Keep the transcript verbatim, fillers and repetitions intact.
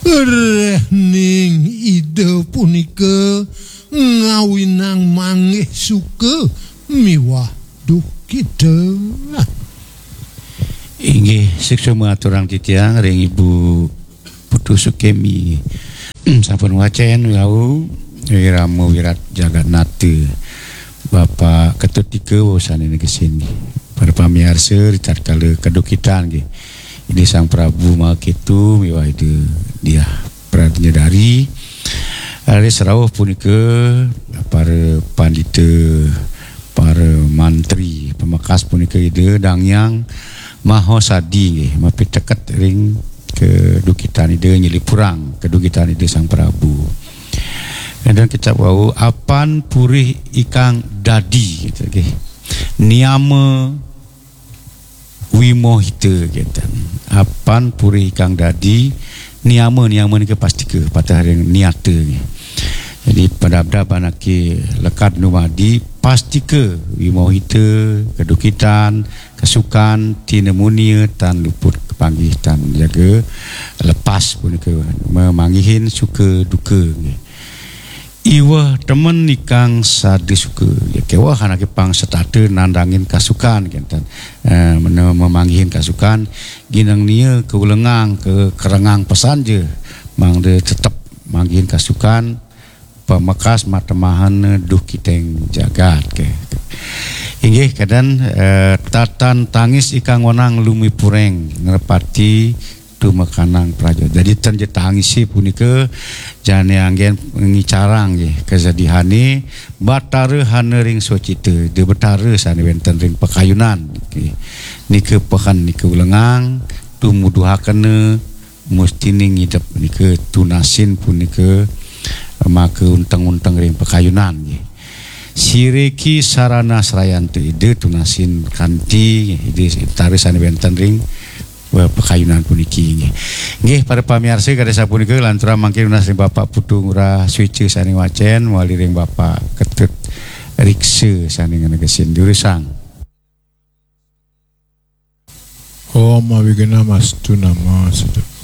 Rehning Ida punika ngawinang manggih suka miwah duhkita. Inggih, suksma aturang titiang ring Ibu Putu Sukemi. Sampun wacén wau Wirama Wirat Jagatnata, Bapak Ketut Ika wau sané negesin. Para pamiarsa, ritatkala kadukitan nggih, Ida Sang Prabu Maha Ketu miwah Ida Diah Pradnya Dari. Raris rauh punika para pandita, para mantri, pamekas punika Ida Dang Hyang Mahasadi nggih, mapiteket ring kadukitan Ida, nyelipurang kadukitan Ida Sang Prabu. Kadang kecap wau, apan purih ikang dadi, gitu, nggih. Niama Wimohita, gitu. Apan purih ikang dadi, niama, niama nika pastika, pateh ring niata, nggih. Jadi, padabdab anaké lekad numadi, pastika wimohita, kadukitan, kasukan, tinemunia, tan luput kapanggih, tan jaga lepas punika, mamanggihin suka duka, nggih. Iweh temen ikang sada suka. Ya, kéweh anaké pang setata nandangin kasukan, kénten. Eh, mene-, mamanggihin kasukan, gineng nia kaulengang, ka-, karengang pesan ja, mangda tetep manggihin kasukan, pamekas matemahan duhkiting jagat, ké. Inggih, kadén, eh, tatan tangis ikang wenang lumipuring, ngrepati tumekanang praja. Jadi, ten ja tangisé punika jani anggén ngicarang nggih kasedihané, Batara hana ring swacita, Ida Batara sané wénten ring pakayunan. Nggih. Nika pehen, nika ulengang, tumuduhakena, mustiné ngidep nika tunasin punika maka unteng-unteng ring pakayunan nggih. Siriki sarana srayantu Ida tunasin kanti Ida Batara sané wénten ring, eh, pakayunan puniki nggih. Nggih, para pamiarsa, kadi sapunika lanturang mangkin nunas ring Bapak Putu Ngurah Swéca sané wacén, mawali ring Bapak Ketut Riksa sané nganegesin durusang. Om Awighnam Astu Nama Sidham.